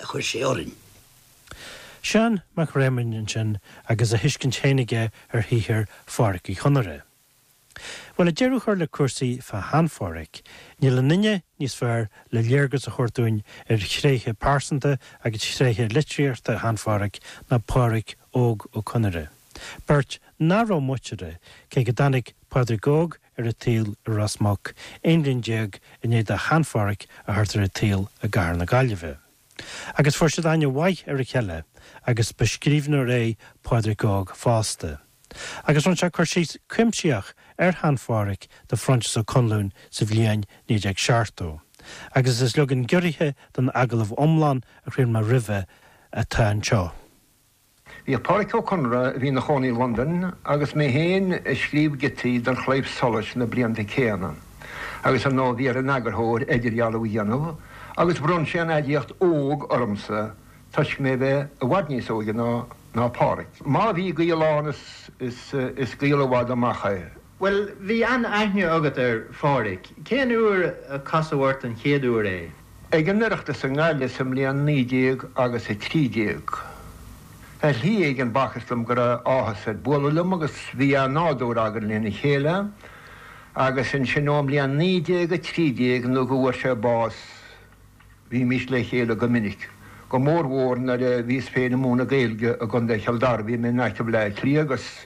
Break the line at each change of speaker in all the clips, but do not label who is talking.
a chuir sé orainn.
Seán Mac Réamoinn ansin agus a thuiscint féin aige ar shaothar Phádraic Uí Chonaire. Bhuel, le deireadh a chur le cúrsaí fá shean-Phádhraic, níl aon duine níos fearr le léargas a thabhairt dúinn ar thréithe pearsanta agus thréithe litríochta shean-Phádhraic ná Pádraic Óg Ó Conaire. Beirt nach raibh muinteartha, cé go dtáinig Pádraic Óg ar an tsaol i Ros Muc, 11 bhliain i ndiaidh do shean-Phádhraic a theacht ar an tsaol i gcathair na Gaillimhe. Agus fuair siad aithne mhaith ar a chéile agus ba scríbhneoir é Pádraic Óg fosta. Agus rinne sé cur síos cuimsitheach ar shean-Phádhraic do Phroinsias Ó Conluain sa bhliain 1970. Agus is leagan giorraithe den agallamh iomlán a chraol mé roimhe atá anseo.
Bhíodh Pádraic Ó Conaire, a bhí ina chónaí i Londain, agus mé féin ag scríobh giotaí don Chlaidheamh Soluis na blianta céanna, agus ar ndóigh bhí ar an eagarthóir idirdhealú a dhéanamh, agus bhronn sé an aidiacht 'óg' ormsa toisc mé bheith i bhfad níos óige ná ná Pádraic. Má bhí gaol ann is is gaol i bhfad amach é.
Bhuel, bhí an-aithne agat ar Phádraic. Cén uair a casadh ort an chéad uair é?
Ag an Oireachtas i nGaillimh sa mbliain 19 agus 13. Ar shlí éigin b'fhacthas dom go raibh áthas air bualadh liom agus bhí an-nádúr againn lena chéile agus ansin ón mbliain 1913 nó go bhfuair sé bás bhímís le chéile go minic, go mór mhór nuair a bhíos féin ag múineadh Gaeilge i gContae Chill Dara. Bhí mé in aice Bhaile Átha Cliath agus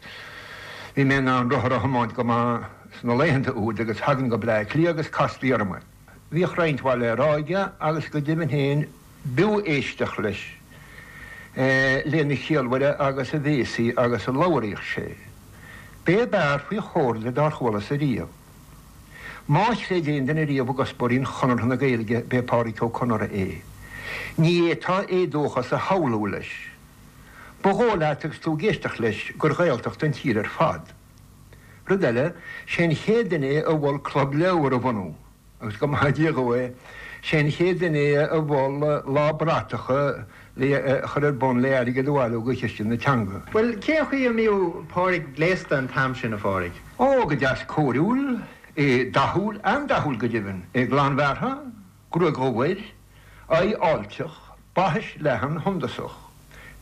bhí mé in ann rothar a thiomáint go maith sna laethanta úd agus thagainn go Baile Átha Cliath agus chastaí orm é. Bhíodh roinnt mhaith le rá aige agus go deimhin féin b'fhiú éisteacht leis, lena chiallmhaire agus a bhéasaí agus a labhraíodh sé. B'é ab fhearr faoi chomhairle dár chualas ariamh. Má chreid aon duine riamh i gcuspóirí an Chonartha na Gaeilge b'é Pádraic Ó Conaire é. Ní fhéadfá éadóchas a shamhlú leis. Ba dhóigh leat agus tú ag éisteacht leis gur Ghaeltacht an tír ar fad. Rud eile, sé an chéad duine é a mhol club leabhar a bhunú, agus go maithe Dia dhó é, sé an chéad duine é a mhol lá bratacha le a chur ar bun le airgead a bhailiú do chiste na teanga.
Bhuel, cén chaoi a mbíodh Pádraig gléasta an t-am sin, a Phádraig?
Ó, go deas cóiriúil, é dathúil, an-dathúil go deimhin, é glanbhearrtha, gruaig dhubh air, aghaidh fháilteach, baithis leathan shundasach,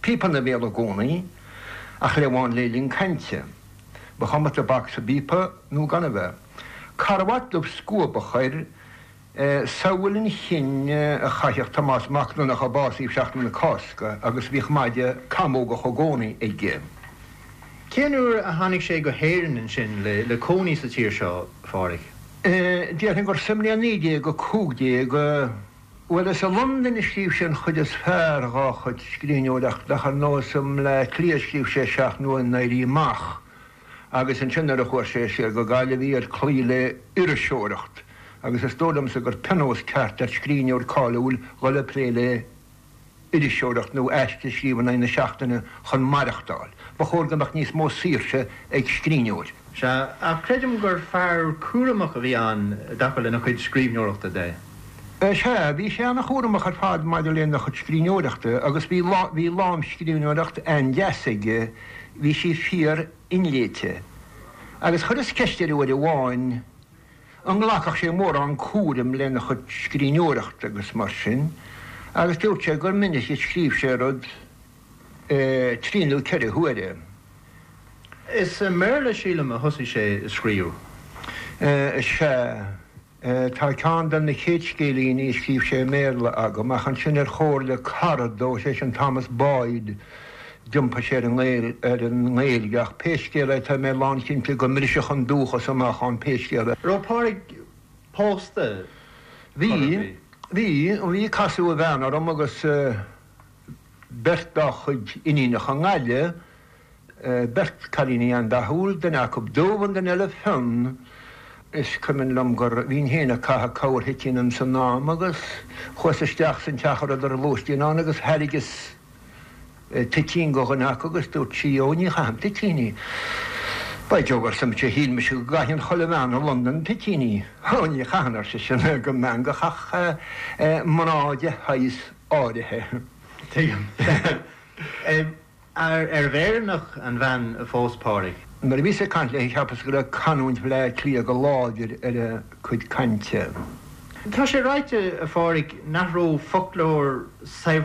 píopa ina bhéal i gcónaí, a chliabhán le linn cainte. Ba chuma tobac sa bpíopa nó gan a bheith. Carbhat dubh scuabach air, samhail an chinn a chaitheadh Tomás Mac Donncha a básaíodh Seachtain na Cásca agus bhíodh maide camógach i gcónaí aige.
Cén uair a tháinig sé go hÉirinn ansin le cónaí sa tír seo, a Phádraig?
Déarfainn gur sa mbliain 1915, bhuel, is i Londain a scríobh sé an chuid is fearr dhá chuid scríbhneoireachta ach ar ndóigh is i mBleá Cliath a scríobh sé 7 nDuain an Éirí Amach agus ansin nuair a chuaigh sé siar go Gaillimh bhí air cloí le iriseoireacht agus is dóigh liomsa gur pionós ceart ar scríbhneoir cáiliúil dhul ag plé le iriseoireacht nó aiste a scríobh in aghaidh na seachtaine chun maireachtáil. Ba chóir go mbeadh níos mó saoirse ag scríbhneoir.
Sea, ach creidim gur fear cúramach a bhí ann i dtaca lena chuid scríbhneoireachta de.
Sea, bhí sé an-chúramach ar fad maidir lena chuid scríbhneoireachta agus bhí bhí lámhscríbhneoireacht an-deas aige, bhí sí fíor-inléite. Agus chuireas ceist air uair amháin, an nglacfadh sé mórán cúraim lena chuid scríbhneoireachta agus mar sin, agus dúirt sé gur minic a scríobh sé rud trí nó ceithre huaire.
Is i mBéarla, sílim, a thosaigh sé ag scríobh.
Sea. Tá ceann de na chéad scéilíní a scríobh sé i mBéarla agam, ach ansin ar chomhairle cara dó, sé sin Thomas Boyd, D'iompaigh sé ar an nGaeilge ach pé scéal é tá mé lánchinnte go mbrisfeadh an dúchas amach ann pé scéal é.
Raibh Pádraig pósta?
Bhí, bhí, bhí. Casadh a bhean orm agus beirt dá chuid iníonacha i nGaillimh, beirt cailíní an-dathúil, duine acu dubh an duine eile fionn. Is cuimhin liom gur bhínn féin ag caitheamh corrthoitín ins an am agus chuas isteach san teach a rabhadar ag lóistín ann agus thairgeas toitín go dhuine acu agus dúirt sí, Ó, ní chaithim toitíní. By Jove, arsa mise, shíl mise go gcaitheann chuile bhean i Londain toitíní. Ó, ní chaitheann, ar seisean, go meangach ach mná de shaghas áirithe.
Tuigim. Arbh Éireannach an bhean a phós Pádraig?
Nuair a bhíos ag caint léi cheapas go raibh canúint Bhaile Átha Cliath go láidir ar a cuid cainte.
Tá sé ráite, a Phádraig, nach raibh foclóir saibhir.